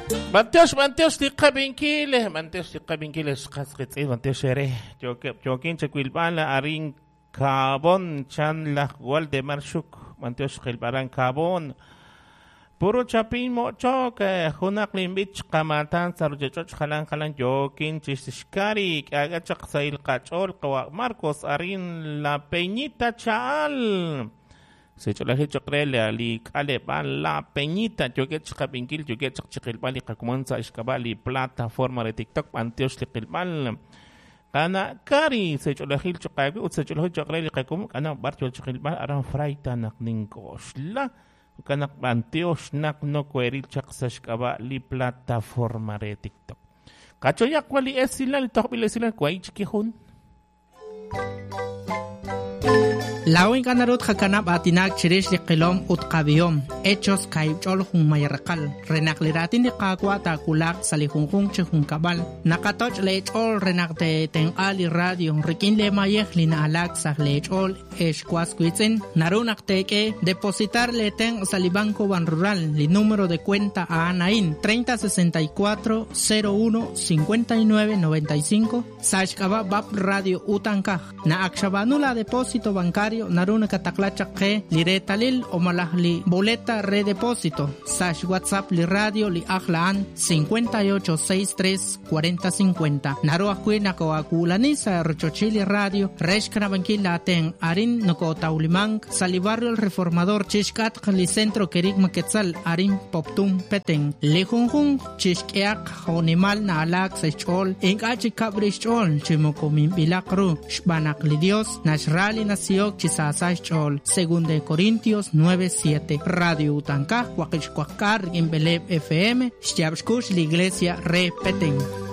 B'antiox, b'antiox li qab'inkil, b'antiox li qab'inkil xqas qitz'in, b'antiox ere. Yookeb' yookin chawilb'al arin Cabón chan laj Waldemar Xuk, b'antiox qilb'aran Cabón. Puro chapin mo'chok, junaq linb'ich qamatan sa' ruchich'och' jalan jalan yookin chixkari k'aak'a chaq sahil qach'ool qawa' Marcos arin La Peñita Cha'al. Sech'olajil choq' re li k'aleb'aal La Peñita yookeb' chiqab'inkil yookeb' chaq chiqilb'al li qakomon sa' xk'ab'a' li plataforma re TikTok b'antiox li qilb'al. Qana' Kari sech'olajil choq' aawe ut sech'olajil choq' re li qakomon k'ana b'ar yoo chiqilb'al aran Frayta naq nink'oxla. Jo'kan naq b'antiox naq nokoheril chaq sa' xk'ab'a' li plataforma re TikTok. Qachoyaq wa li esilal, li tojb'il esilal, wahi' chik jun. Laa'o ink'a' naru tqakanab' aatinak chirix li qilom ut qab'ihom. Hechos kaahib' ch'ol junmay raqal. Re naq li raatin li Qaawa' taawulaq sa' li junjunq chi junkab'al, naqatoch' leech'ool re naq teetenq'a li radio rik'in leemayej li na'alaak sa' leech'ool ex was wiitz'in. Naru naq teek'e depositar leetenq' sa' li Banco Banrural. Li número de cuenta a'an a'in 3064 01 59 95 sa' xk'ab'a' BAP Radio Utankaj. Naq ak xab'aanu la depósito bancario naru nakataqla chaq qe li reetalil o malaj li boleta re depósito sa' xWhatsApp li radio li ajl a'an 58 63 40 50. Naru ajwi' nakoo'aawulani sa' rochochil li radio re xkanab'ankil laatenq' arin nokootawlimank sa' li barrio El Reformador chixk'atq li Centro Kerigma Quetzal arin Poptún Petén. Li junjunq chixk'ehaq jo'nimal na'alaak sa' xch'ool ink'a' chikab' rix xch'ool chi moko minb'ilaq ru xb'aan naq li Dios naxra li nasihok chi saasa xch'ool. Segunda de Corintios 9:7. Radio Utankaj waqib' xwaqk'aal rik'in b'eleeb' FM xyaab' xkux li Iglesia re Petén.